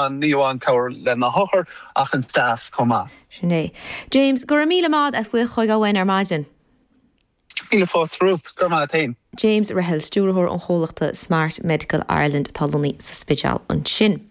ann ní amháin cabhair le na hothair ach an staff chomh maith. Sin é. James, go raibh míle maith as glaoch chugainn ar maidin. Míle fáilte romhat. Go raibh maith a't fhéin. James Reihill, Stiúrthóir an chomhlachta Smart Medical Ireland atá lonnaithe sa Spidéal ansin.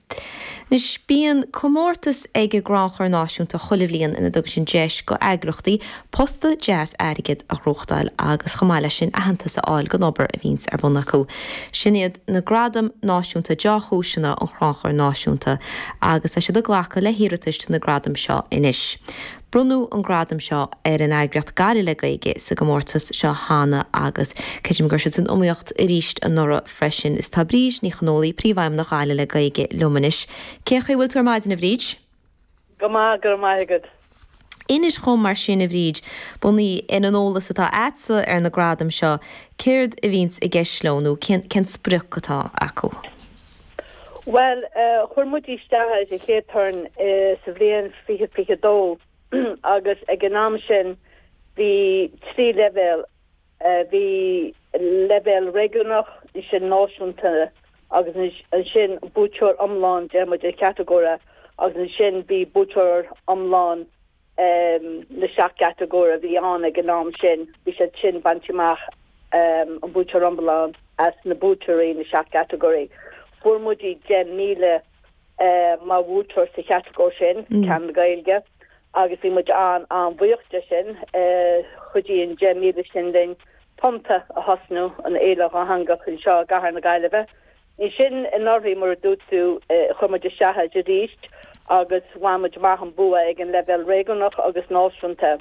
Anois, bíonn comórtas ag an gCrannchur Náisiúnta chuile bhliain ina dtugann sin deis go eagrachtaí posta deas airgid a ghnóthachtáil agus chomh maith leis sin aitheantas a fháil don obair a bhíonns ar bun acu. Sin iad na Gradaim Náisiúnta Deá-Chúiseanna an Chrannchuir Náisiúnta agus tá siad ag glacadh le hiarratais do na gradaim seo anois. Bronnadh an gradam seo ar an eagraíocht Gaillimh le Gaeilge sa gcomórtas seo cheana agus creidim go raibh siad san iomaíocht arís anuraidh freisin. Is tá Bríd Ní Chonólaigh, Príomhfheidhmeannach Ghaillimh le Gaeilge liom anois. Cén chaoi a bhfuil tú ar maidin, a Bhríd? Go maith, go raibh maith agat. Inis dhom mar sin, a Bhríd, bunaithe ar an eolas atá a'dsa ar na gradaim seo, céard a bhíonns i gceist leo nó cén cén sprioc atá acu? Bhuel, chuir muid isteach ar an chéad turn sa bhliain 2022 agus ag an am sin bhí 3 leibhéal, bhí leibhéal réigiúnach, ansin náisiúnta agus ansin buaiteoir iomlán, deir muid, an chatagóra agus ansin bhí buaiteoir iomlán na seacht gcatagóir a bhí ann ag an am sin, bhí siad sin bainte amach, an buaiteoir iomlán as na buaiteoirí na seacht gcatagóirí. Fuair muid 10,000 mar bhuaiteoir sa chatagóir sin, ceann na Gaeilge, agus bhí muid an-an-bhuíoch de sin. Chuidigh an 10,000 sin linn Tonnta a thosnú, an fhéile dhátheangach anseo i gcathair na Gaillimhe. Ansin anuraidh, mar a dúirt tú, chuir muid isteach air arís agus bhain muid amach an bua ag an leibhéal réigiúnach agus náisiúnta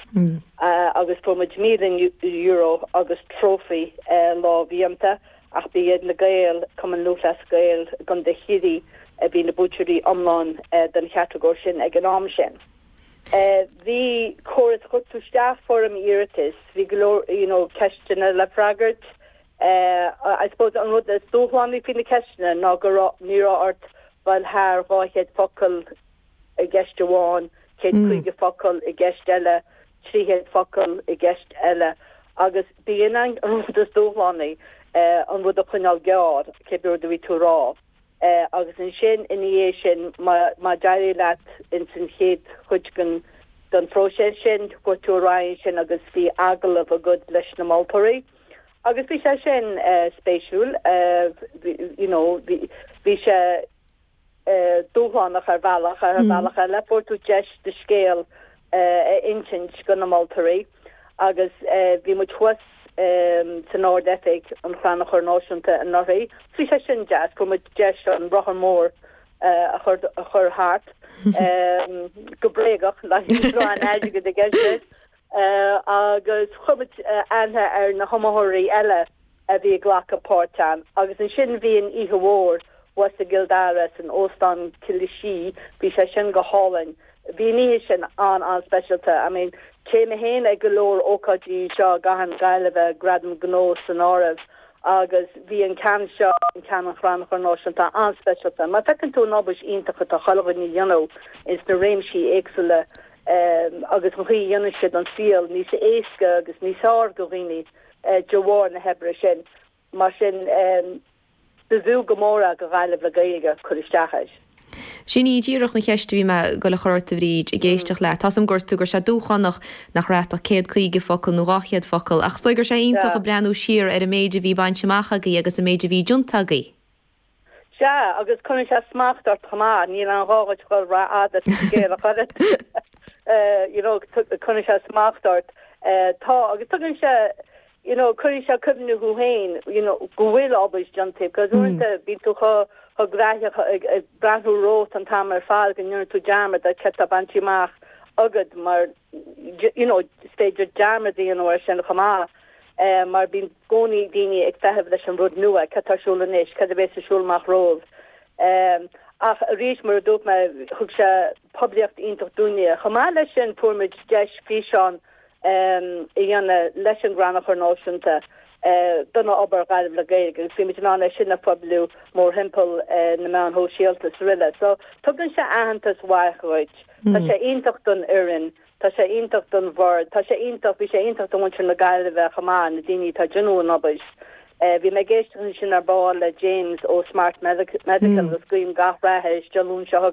agus fuair muid €1,000 agus trófaí lámhdhéanta ach ba iad na Gaeil, Cumann Lúthchleas Gael i gContae Chiarraí a bhí na buaiteoirí iomlán don chatagóir sin ag an am sin. Bhí córas, chuir tú isteach foirm iarratais, bhí go leor you know ceisteanna le freagairt, I suppose an rud is dúshlánaí faoi na ceisteanna ná go raibh, ní raibh ort dul thar 200 focal i gceist amháin, 150 focal i gceist eile, 300 focal i gceist eile agus b'in an rud is dúshlánaí, an rud a choinneáil gearr, cibé rud a bhí tú a rá. Agus ansin ina dhiaidh sin má d'éirigh leat ins an chéad chuid den den phróiseas sin, chuaigh tú ar aghaidh ansin agus bhí agallamh agat leis na moltóirí. Agus bhí sé sin spéisiúil, you know, bhí sé dúshlánach ar bhealach, ar bhealach eile fuair tú deis do scéal a insint go na moltóirí agus bhí muid thuas san Ard-Oifig an Chrannchuir Náisiúnta anuraidh. Bhí sé sin deas, fuair muid deis an rothar mór a chur a chur thart go bréagach, ní raibh aon airgead i gceist leis, agus chuir muid aithne ar na hiomaitheoirí eile a bhí ag glacadh páirt ann. Agus ansin bhí an oíche mhór thuas i gCill Dara san Óstán Killashee, bhí sé sin go hálainn. Bhí an oíche sin an-an-speisialta. I mean, téim mé féin ag go leor ócáidí anseo i gcathair na Gaillimhe, Gradaim Gnó san áireamh, agus bhí an ceann seo, an ceann an Chrannchuir Náisiúnta, an-speisialta. Mar feiceann tú an obair iontach atá chuile dhuine a dhéanamh ins na réimsí éagsúla agus an chaoi a dhéanann siad an saol níos éasca agus níos fearr do dhaoine. de bharr na hoibre sin. Mar sin, b'fhiú go mór é do Ghaillimh le Gaeilge cur isteach air. Sin í díreach an cheist a bhí mé ag goil a chur ort, a Bhríd, ag éisteacht leat. Tá's agam go ndúirt tú go raibh sé dúshlánach nach raibh ach 150 focal nó 200 focal, ach is dóigh go raibh sé iontach ag breathnú siar ar an méid a bhí bainte amach agaibh agus an méid a bhí déanta agaibh. Sea, agus cuireann sé smacht ort chomh maith, níl aon ghá dhuit dhul rófhada sa scéal ach oiread. You know, cuireann sé smacht ort. Tá, agus tugann sé, you know, cuireann sé cuimhne thú féin, you know, go bhfuil obair déanta, because uaireanta bíonn tú chomh chomh gnaitheach ag ag breathnú romhat an t-am ar fad go ndéanann tú dearmad ar céard atá bainte amach agat mar, you know, is féidir dearmad a dhéanamh air sin chomh maith. Mar bíonn i gcónaí daoine ag feitheamh leis an rud nua, cad tá ar siúl anois, cad a bheas ar siúl amach romhaibh. Ach arís, mar a dúirt mé, thug sé poiblíocht iontach dúinne. Chomh maith leis sin, fuair muid deis físeán a dhéanamh leis an gCrannchur Náisiúnta don obair Ghaillimh le Gaeilge agus bhí muid in ann é sin a phoibliú mórthimpeall na meáin shóisialta is araile. So, tugann sé aitheantas mhaith dhuit. Tá sé iontach don fhoireann. Tá sé iontach don bhord, tá sé iontach, bhí sé iontach do mhuintir na Gaillimhe chomh maith, na daoine atá ag déanamh an obair. Bhí mé ag éisteacht ansin ar ball le James ó Smart Medical agus guím gach rath air Dé Luain seo chugainn.